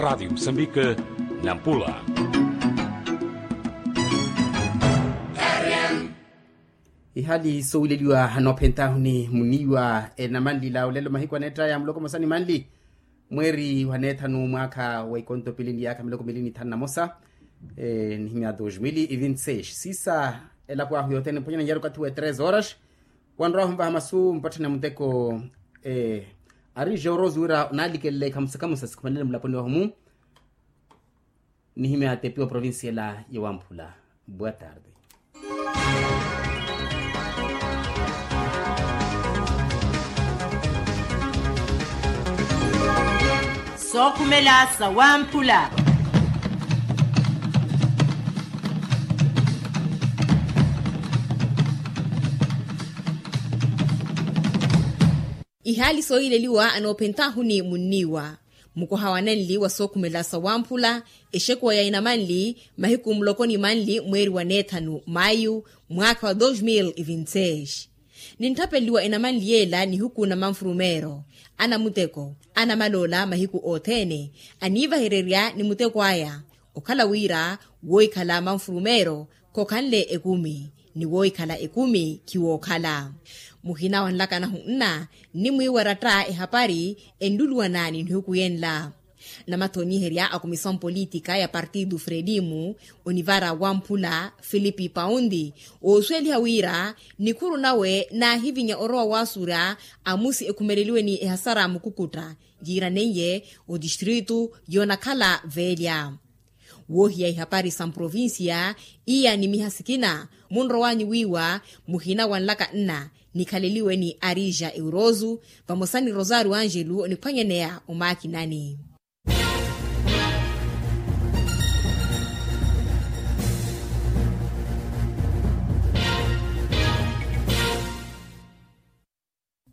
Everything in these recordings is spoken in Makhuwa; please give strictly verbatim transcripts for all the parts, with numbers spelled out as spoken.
Radiyo musambika, nampula. Ihali sowileliwa anoophentahuni muniiwa enamanlila olelo mahiku aneettaya muloko mosa ni manli, mweeri wa neethanu mwaakha wa ikonto pili ni yaakha miloko mili ni thanu na mosa. Nihimya dos mil e vinte seis sisa, elapo ahu yothene mphonyana nyaru okathi wa tres horas. Wanrowa humvaha masu mpatthani a muteko. Ari jorosi wira onaalikelele ikhamusa khamusa sikhumanene mulaponi wahumu. Nihimya tepi wa provincia ela ya wamphula. Boa tarde. Sookhumela sa wamphula. Ihaali sooyileliwa anoophentahuni munniiwa. Mukoha wa nanli wa sookhumela sa wamphula, exekuwa ya inamanli mahiku muloko ni manli mweeri wa neethanu mayu, mwaakha wa dos mil e vinte seis. Nintthapeliwa enamanli yeela nihuku na manfurumeero, anamuteko, anamaloola mahiku othene, aniivahererya ni muteko aya. Okhala wira woohikhala manfurumeero khokhanle ekumi, ni woohikhala ekumi khiwookhala. Muhina wa nlakanahu nna nnimwiiwa ratta ehapari enluluwana ni nihuku yenla. Namathoniherya a komisaw politika ya partidu fredimu, onivara wamphula filipi paundi, oosuweliha wira nikhuru nawe naahivinya orowa waasurya amusi ekhumeleliwe ni ehasara mukukutta, yiiraneiye otistritu yoonakhala veelya. Woohiya ihapari sa mprovincia, iya nimiha sikina munrowanyu wiiwa muhina wa nlaka nna nikhaleliwe ni arija eurozu, vamosa ni rosario angelu oniphwanyaneya omaakinani.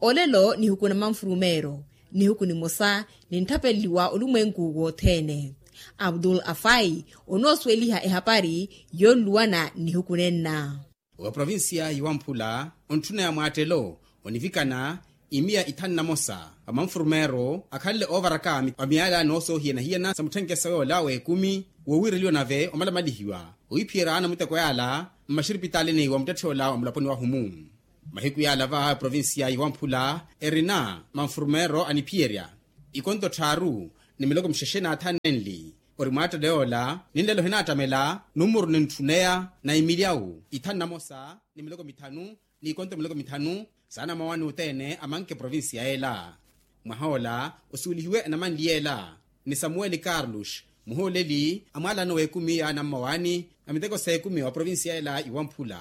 Olelo nihuku na manfurumeero, nihuku nimosa nintthapeliwa olumwenku wothene. Abdul afai onoosuweliha ehapari yoonluwana nihuku nenna. Wa provincia yiwamphula ontthuneya mwaattelo onivikana imiya ithanu na mosa, wa manfurumeero akhanle oovaraka wa miyala noosoohiyana-hiyana sa mutthenkeso yoola w'ekumi, wowiireliwa nave omalamalihiwa owiphiyerya anamuteko yaala mmaxiripitalini wa muttetthe ola wa mulaponi wahumu. Mahiku yaala va provincia yiwamphula erina manfurumeero aniphiyerya ikonto tthaaru ni miloko muxexe n'athanenli. Ori mwaattelo yoola ninlelo hinaattamela numuru nintthuneya na imilyawu ithanu na mosa ni miloko mithanu, n'ikonto miloko mithanu saana mawani othene amanke provincia yeela. Mwaha ola osuwelihiwe enamanli yeela ni samuweli carlos, muhooleli a mwaalano w'ekumi yaana mmawani a miteko s'ekumi wa provincia yeela yiwamphula.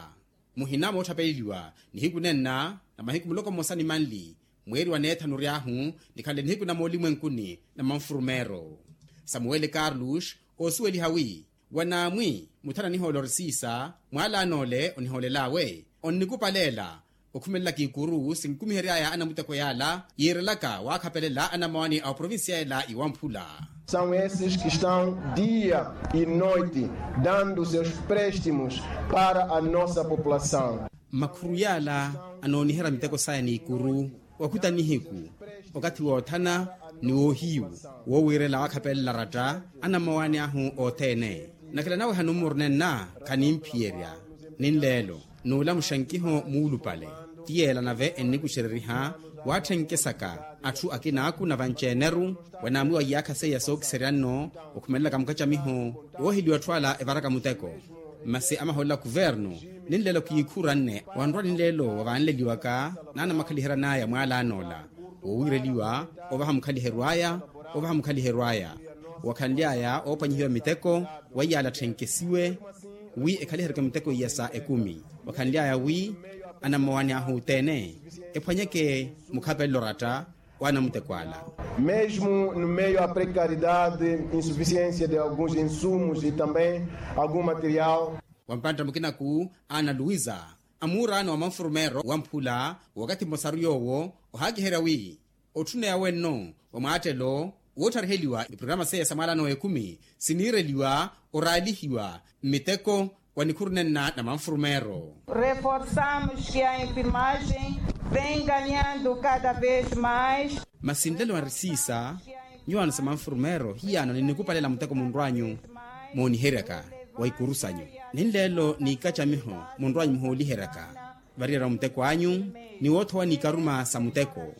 Muhina moottapeleliwa nihiku nenna na mahiku muloko mmosa ni manli mweeri wa neethanu ory'ahu, nikhanle nihiku na moolimwenkuni na manfurumeero. Samuweli carlos oosuweliha wi wanaamwi muthana nihoolo orisiisa mwaalano ole onihoolel'awe onnikupaleela okhumelelaka ikuru sinkumihery'aya anamuteko yaala yiirelaka waakhapelela anamawani a oprovincia ela iwamphula. São esses que estão dia e noite dando seus préstimos para a nossa população. Makhuru yaala anooniherya miteko saya n'ikuru wakhuta nihiku okathi woothana ni woohiyu woowiirela waakhapelela ratta anamawani ahu othene. Nakela naweha numuru nenna khanimphiyerya ninleelo n'ula muxankiho muulupale. Ti yeela nave ennikuxereriha waatthenke saka atthu akinaaku na vanci-eneru wanaamwiwa iyaakha seiya sookiserya nno okhumelelaka mukacamiho wooheliwa atthu ala evaraka muteko. Masi amahoolela kuvernu ninleelo kiikhuranne wanrwa ninleelo wa vaanleliwaka naanamakhaliheryan'aya mwaalano ola woowiireliwa ovaha mukhaliheryo aya ovaha mukhaliheryo aya. Wakhanly'aya oopwanyihiwa miteko wa iyaala atthenke siwe wi ekhaliheryeke miteko iya sa ekumi. Wakhanly'aya wi anamawani ahu othene ephwanyeke mukhapelelo oratta wa anamuteko ala. Mesmo no meio a precariedade insuficiência de alguns insumos e também algum material. Wa mpantta mukinaku ana luisa amuuraano wa manfurumeero wamphula wakathi mmosaru yoowo ohaakiherya wi otthuneya wenno wa mwaattelo woothariheliwa iprograma seiya sa mwaalano w'ekumi siniireliwa oraalihiwa mmiteko wa nikhuru nenna na manfurumeero. Reforçamos que a enfermagem vem ganhando cada vez mais. Masi nlelo arisiisa Nyuwaano sa manfurumero hiyaano ninikupalela muteko munrwanyu mooniheryaka wa ikuru sanyu. Ninleelo ni ikacamiho munrwanyu muhooliheryaka variyerya muteko anyu ni woothowa ni ikaruma sa muteko.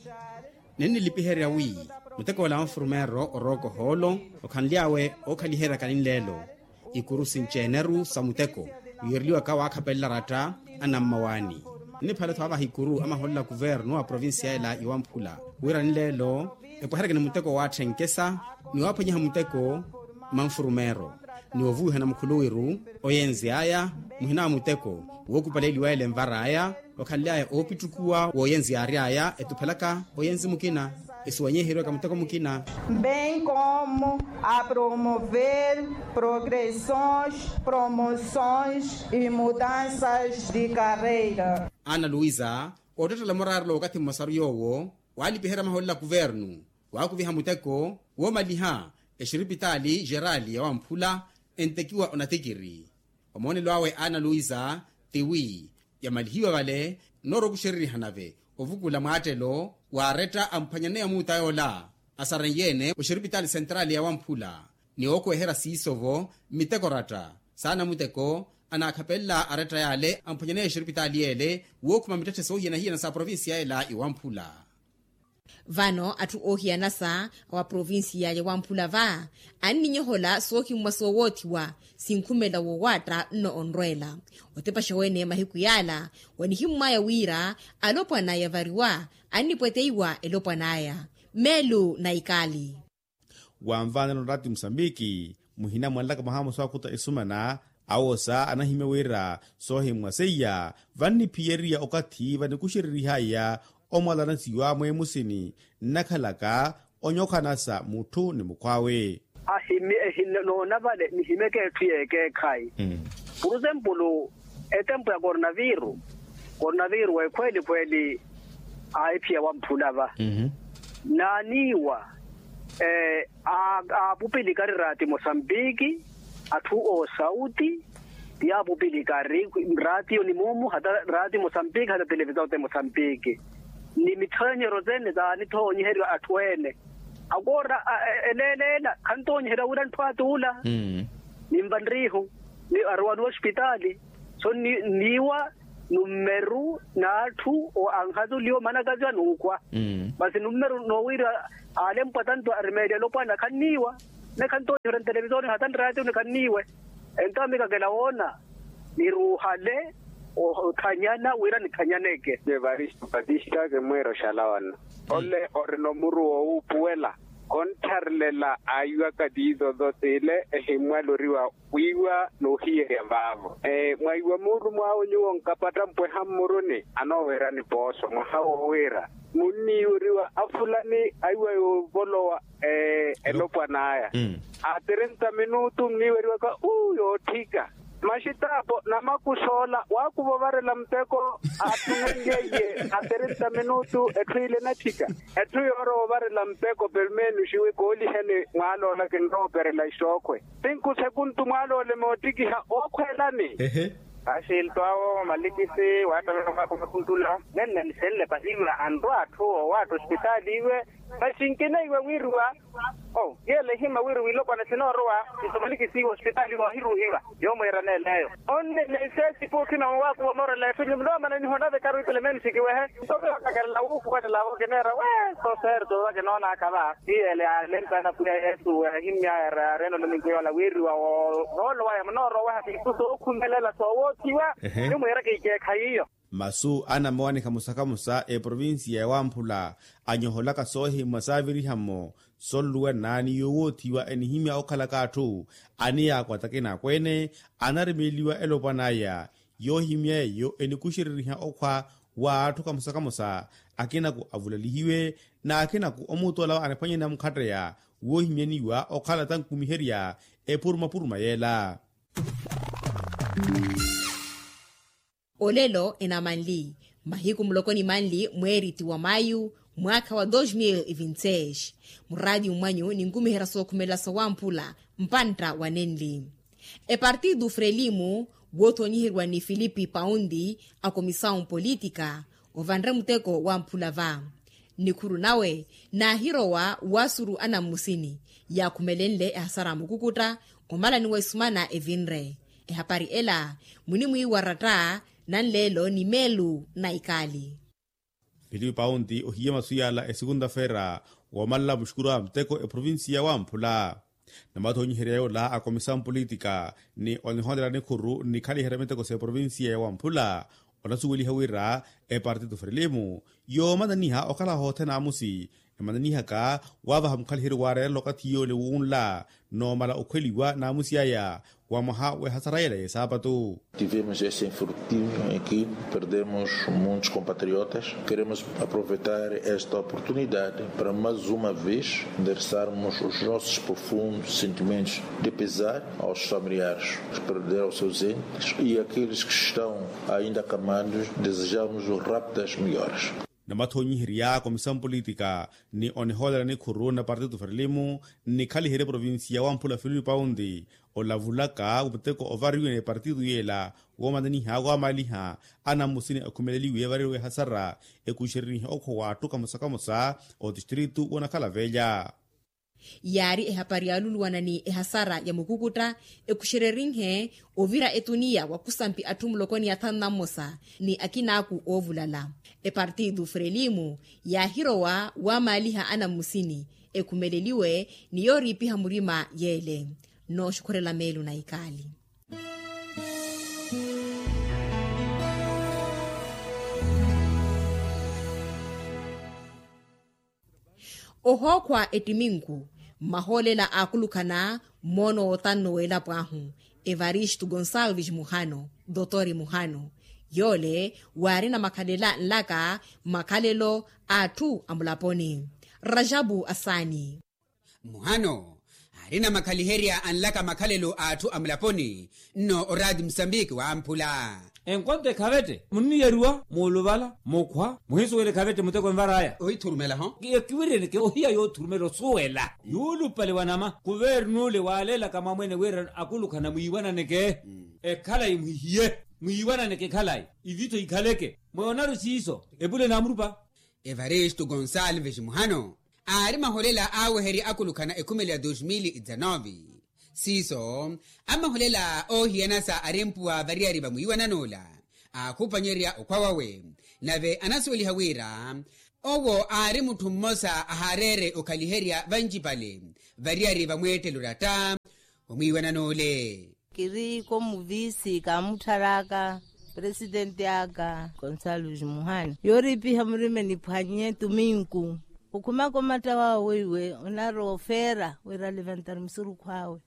Ninnilipiherya wi muteko ola wa nfurumero orooka ohoolo okhanly'awe ookhaliheryaka ninleelo. Ikuru sinci-eneru sa muteko wiireliwaka waakhapelela aratta anammawaani. Ninniphala-tho avaha ikuru amahoolela kuvernu a provincia ela iwamphula wira ninleelo epweheryeke ni muteko waatthenkkesa ni waaphwanyiha muteko mmanfurumero ni ovuwihana mukhuluwiru oyenzi aya muhina wa muteko wookupaleliwa ele nvar'aya okhanly'aya oopittukuwa w'oyenzi yaary'aya etuphelaka oyenzi mukina esuwanyiheriwaka muteko mukina. Bem como a promover progressões, promoções e mudanças de carreira. Ana luisa oottettela muraarelo wakathi mmosaru yoowo waalipiherya maholela kuvernu waakuviha muteko woomaliha exiripitaali xerali ya wamphula entekiwa onatikiri. Omoonelo awe ana luisa tiwi yamalihiwa vale nnoora okuxererihana-ve ovukula mwaattelo waaretta amphwanyaneya muuta yoola asarenyeene oxiripitaali sentrali ya wamphula ni ookweherya siiso-vo mmiteko ratta saana muteko anaakhapelela aretta yaale amphwanyaneya exiripitaali yeele wookhuma mittetthe soohiyana-hiyana sa provincia ela iwamphula. Vano atthu oohiyanasa wa provincia ya wamphula va anninyohola soohimmwa soowoothiwa sinkhumela wowaatta nno onrweela otepaxa wene mahiku yaala wanihimmwaya wira alopwana yavariwa annipweteiwa elopwan'aya meelu na ikali. Wanvaanela onraati musambiki muhina mwanlaka mwaha mmosa wakuta esumana awosa anahimya wira soohimmwa seiya vanniphiyeriya okathi vanikuxererihaya omwalanasiwa mweemusini nnakhalaka onyokhanasa mutthu ni mukhw'awe. Ahimi ehinoona vale nihimeke etthu y'ekeekhayi. Purusempulu etempu ya kornaviru kornaviru ekhweeli-khweeli aahiphiya wamphula va naaniiwa aapupilikari raati mosambiki atthu oosauti ti aapupilikari raatiyo ni muumu hata raatiyo mosambiki hata televisao te mosambiki ni mithoonyeryo sene saanithoonyiheriwa atthu ene akoora eleeleela khantoonyiheriwa wira ntthu atuula. Nimva nriihu ni aruwaniwa ospitaali so nniiwa nummeru n'atthu anhazuliwa omanakaziwa n'ukhwa masi nummeru noowiira aalempwa tantu arimeeliwa elopwana khanniiwa ne khantoonyiheriwa ntelevisoni hata nraatiyo ni khanniiwe. Entawo mikakela woona niruuhale othanyana wira nithanyaneke. Evaristo patista kimwiira oxalawana ole orina omuru woowuupuwela konttharelela aiwaka tiizo-zo t'ile ehimmwaloriwa wiiwa n'uhiyerya vaavo. Mwaiwa muulumo awe nyuwo nkapatta mpweha mmuruni anooweerani pooso mwaha woowiira munniiweriwa afulani aiwa yoovolowa elopwan'aya a trinta minutu nniiweriwaka uu yootthika maxitaapo namakusoola waakuva ovarela muteko aattunenlyeiye a trinta minutu etthu ile enatthika etthu yoorowa ovarela muteko permenuxiwe kooliheni mwaaloola kinrowa operela ixookhwe tinku sekuntu mwaalole moottikiha ookhweelani. Axilto awo malikisi waattavela omwaakha omakuntula nenne nisenle pahiwa anrwa atthu owaatta ospitaali iwe maxinkineiwe wiiriwa o yeela ehima wiiriwa ilopwana sinoorowa iso malikisi iwe ospitaali iwe wahiruuhiwa yoomwiira neeleyo onne neseesi puukhina mowaakuva omoorela etthu nyumula omananiho nave karu ipelemensi kiwehe. Soviwakakelela wuukuwanela vo kineera we soseerto vakinoonaka va. Iyele alempana pwiya yesu ahimmya yareena olominki yoola wiiriwa woolo waya munooroweha siisu sookhumelela soowoothiwa. Nimwiira kiikeekha yiyo. Masu anamowanikha musakhamusa eprovincia ya wamphula anyoholaka soohimmwa saaviriha-mo sonluwa nnaani yoowoothiwa enihimya okhalaka atthu aniyaakwata akina akweene anarimeeliwa elopwan'aya yoohimya eyo enikuxereriha okhwa w'atthu kamosa kamosa akinaku avulalihiwe n'akinaku omuutola anaphwanyana mukhatteya woohimyaniwa okhala tankumiherya epurumapuruma yeela. Olelo enamanli mahiku muloko ni manli mweeriti wa mayu mwaakha wa dos mil e vinte seis. Muraatiyo mwanyu ninkumiherya sookhumelela sowamphula mpantta wa nenli epartidu frelimu woothonyiheriwa ni filipi paundi akomisawu mpolitika. Ovanre muteko wamphula va Nikhuru nawe naahirowa waasuru anammusini yaakhumelenle ehasara a mukukutta omalani wa isumana evinre. Ehapari ela munimwiiwaratta nanleelo ni meelu na ikaali. Filipe paunti ohiye masu yaala esukunta-feera woomalela muxukuru a muteko eprovincia wamphula. Namathoonyiherya yoola a komisawu politika ni onihoonela nikhuru nnikhaliherya miteko s'eprovincia ya wamphula onasuweliha wira epartito frelimo yoomananiha okhala hothene amusi emananihaka waavaha mukhaliheryo waareerela okathi yoole wunla noomala okhweliwa naamusi aya wa mwaha w'ehasara yela y'esaapatu. Tivemos esse infortúnio em que perdemos muitos compatriotas. Queremos aproveitar esta oportunidade para mais uma vez endereçarmos os nossos profundos sentimentos de pesar aos familiares que perderam seus entes e àqueles que estão ainda acamados, desejamos rápidas melhoras. Namathoonyiherya komisawu politika ni onihoolera nikhuru na partitu frelimo nnikhaliherye provincia wamphula filipe paunti olavulaka muteko ovariwe ni partitu yeela woomananiha waamaaliha anammusini akhumeleliwe evariwe ehasara ekuxererihe okhowa atthu kamosa kamosa otistritu woonakhala velya. Yaari ehapari yaaluluwana ni ehasara ya mukukutta ekuxererinhe ovira etuniya wa kusampi atthu muloko ni athanu na mmosa ni akinaaku oovulala. Epartitu frelimo yaahirowa waamaaliha anammusini ekhumeleliwe ni yooriipiha murima yeele. Nooxukhurela meelo na ikaali. Ohookhwa ettiminku mmahoolela aakulukhana mmoono wootanno w'elapo ahu evaristo gonsalves muhano dotori muhano yoole waarina makhalela nlaka makhalelo a atthu a mulaponi. Rajabu asaani. Muhano aarina makhaliherya anlaka makhalelo a atthu a mulaponi nno oraati musambiki wamphula. Enkonto ekhavette munniyariwa muuluvala mukhwa muhinsuwela ekhavette muteko envar'aya ohithurumela-ho. Ekiwiriyeni ke ohiya yoothurumela osuwela yuulupale wa nama kuvernuule waaleelaka mwamwene wira akulukhana mwiiwananeke. Ekhalayi mwihiye mwiiwananeke ekhalayi ivitho ikhaleke mwoonari siiso epule naamurupa. Evaristo gonsalves muhano aari maholela aaweherya akulukhana ekhumelo ya dos mil e dezanove. Siiso amaholela oohiyanasa ari mpuwa variyari va mwiiwanan'ula aakhupanyerya okhwa wawe nave anasuweliha wira owo aari mutthu mmosa ahaareere okhaliherya vancipale variyari va mweettelo oratta omwiiwanan'ule. Kiri komuvisi kaamutthar'aka presidenti aka gonsalves muhana yooriipiha murima eniphwanye tuminku okhumaka omatta wawe weiwe onarowa ofeera wira alivantar musurukhu awe.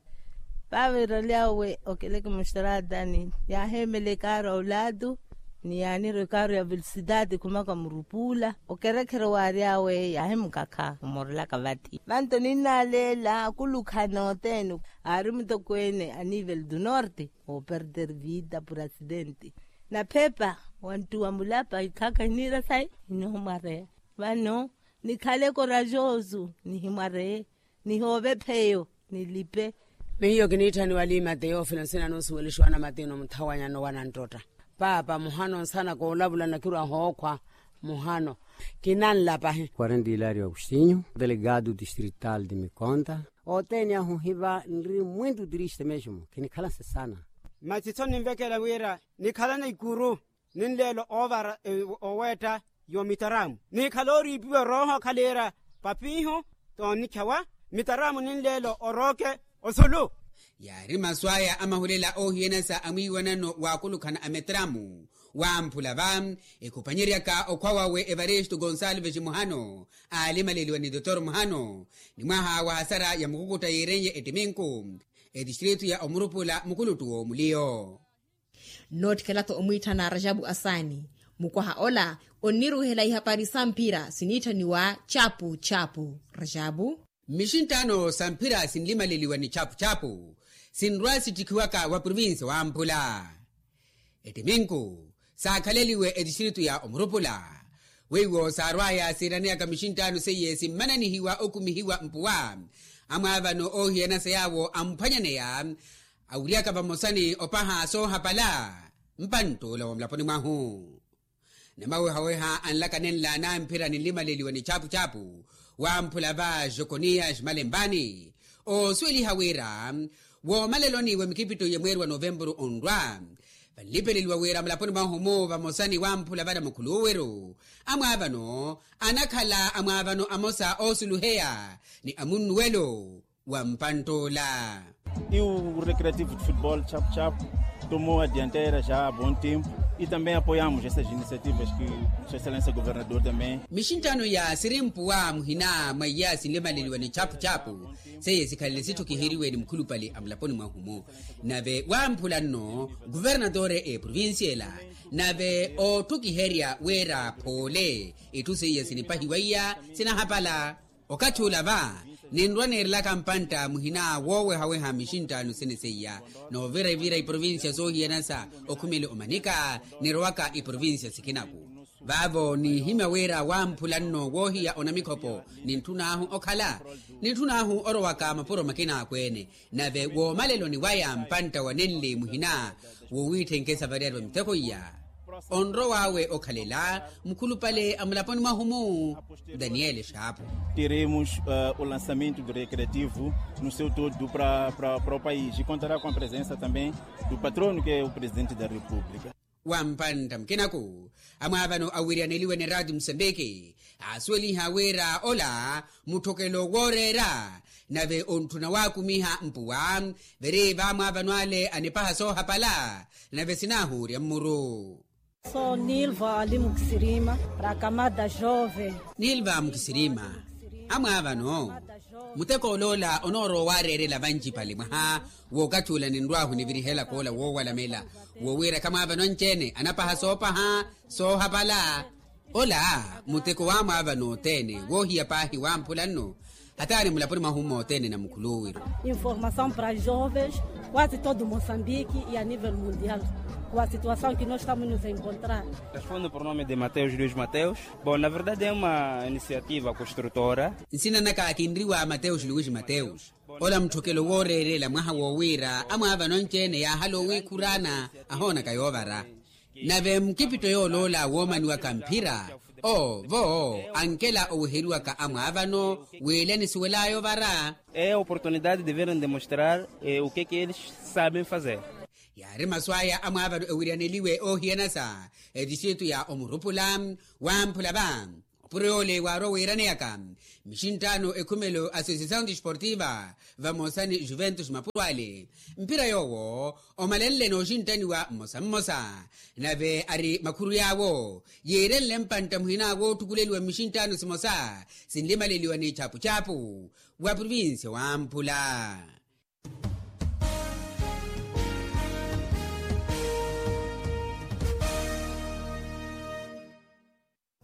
Paavira lyawe okeleke muxtratani yaaheemela ekaaru ya olatu ni yaanira ekaaru ya velosidade khumaka murupula okerekhere waaryawe yaahimukakha omorelaka vathi vanto ninnaleela akulukhana othene. Aari mutokweene a nivel du norte ooperder vida purasidente naphepa wanttuwa mulapa ikhaka hiniira sayi hinihomwareya vano nikhale korajosu nihimwareye nihoove pheyo nilipe. Miyo kiniitthaniwa liimate yoofina nsina nunsuwelixiwa na matino muthawanyano wananttotta paapa muhano nsana koolavula nakirwa hookhwa muhano kinanlapahi. Quarenta hilario agostinho delegado distrital de mikonta othene ahu hiva nri mwintu triste mesmo kinikhala nsesana. Masi tho ninvekela wira nikhalana ikuru ninleelo oovara oweetta yoomitaramu nikhale ooriipiwa erooho khaliira papiihu toonikhyawa mitaramu ninleelo orooke osulu. Yaari masu aya amahulela oohiyanasa a mwiiwanano waakulukhana a mitaramu wamphula va ekhupanyeryaka okhwa wawe evaristo gonsalves muhano aalimaleliwa ni dotor muhano ni mwaha wa hasara ya mukukutta yiirenye ettiminku etistritu ya omurupula mukuluttu w'omuliyo. Noottikela-tho omwiitthana rajabu asaani mukwaha ola onniruuhela ihapari sa mphira siniitthaniwa chapu chapu rajabu. Mmixinttaano sa mphira sinlimaleliwa ni chapu chapu sinrwa sittikhiwaka wa provincia wamphula ettiminku saakhaleliwe etistritu ya omurupula weiwo saarwaya siiraneyaka mixinttaano seiye simmananihiwa okhumihiwa mpuwa amwaavano oohiyanasa yaawo amphwanyaneya awiryaka vamosa ni opaha soohapala mpanttuula wa mulaponi mwahu. Namawehaweha anlaka nenla anamphira ninlimaleliwa ni chapuchapu wamphula va jokoniya ximalempani, oosuweliha wira woomaleloni wa mikipitto ya mweeri wa novempuru onrwa, vanlipeleliwa wira mulaponi mwahu-mu vamosa ni wamphula vana mukhuluwiru amwaavano, anakhala amwaavano amosa oosuluheya ni amunnuwelo wa mpantt'ula. E o Recreativo de Futebol Chapo Chapo tomou a dianteira já há bom tempo e também apoiamos essas iniciativas que Sua Excelência Governador também. Mixinttano iya sirimpuwa muhina mwa iya sinlimaleliwa ni chapuchapu seiye sikhalele sitthukiheriwe ni mukhulupale a mulaponi mwahu-mu. Nave wamphula nno kuvernatore eprovincia ela, nave ootthukiherya wira phoole itthu seiya sinipahiwa iya sinahapala. Okathi ula va ninrwa neerelaka mpantta muhina woowehaweha mixinttaano sene seiya, noovirevira iprovincia soohiyana sa okhumele omanika nirowaka iprovincia sikinaku. Vaavo niihimya wira wamphula nno woohiya onamikhopo nintthun'ahu okhala nintthun'ahu orowaka mapuro makina akweene. Nave woomaleloni waya mpantta wa nenli muhina wowiitthenke savariyari va miteko iya onrow'awe okhalela mukhulupale a mulaponi mwahu-mu. Daniele xaapu. Teremos o lançamento do recreativo no seu todo para o país e contará com a presença também do patrono que é o presidente da república. Wa mpantta mukinaku amwaavano awiriyaneliwe ni raati musambiki aasuweliha wira ola mutthokelo wooreera. Nave ontthuna waakumiha mpuwa viri vaamwaavano ale anipaha soohapala nave sinaahuurya mmuru. Sou nilva ali mukisirima para a camada jovem. Nilva mukisirima amwaavano. Muteko oloola onoorowa waareerela vancipale mwaha wookathi ula ninrw'ahu nivirihelaka ola woowalamela woowiira khamwaavano anci-ene anapaha soopaha soohapala. Ola muteko wamwaavano othene woohiya paahi wamphula nno hataani mulaponi mwahu-mu othene na mukhuluwiru. Informação para jovens quase todo moçambique e a nível mundial com a situação que nós estamos nos encontrar. Respondo por nome de mateus luis mateus. Bom na verdade é uma iniciativa construtora. Nsina naka kinriwa mateus luis mateus. Ola mutthokelo wooreerela mwaha woowiira amwaavano anci-ene yaahala owiikhuraana ahoonaka yoovara. Nave mukipitto yooloola woomaniwaka mphira oo vo ankela oweheriwaka amwaavano wiile anisuwel'aya ovara. É a oportunidade de verem demonstrar o que que eles sabem fazer. Yaari masu aya amwaavano ewiriyaneliwe oohiyana sa etistritu ya omurupula wamphula va opuro yoole waarwa wiiraneyaka mixinttaano ekhumelo associação desportiva vamosa ni juventus mapuro ale. Mphira yoowo omalenle nooxinttaniwa mmosa mmosa nave ari makhuru yaawo yiirenle mpantta muhina wootthukuleliwa mmixinttaano simosa sinlimaleliwa ni chapuchapu wa provincia wamphula.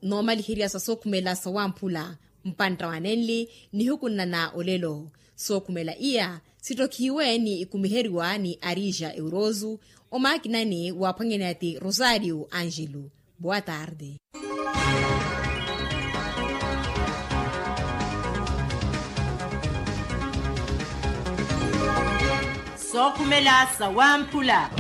Noomaliherya sa sookhumela sa wamphula mpantta wa nenli nihiku nnana olelo. Sookhumela iya sittokihiwe ni ikumiheriwa ni arija eurozu omaakinani waaphwanyani ati rosario angelo. Boa tarde. Sookhumela sa wamphula.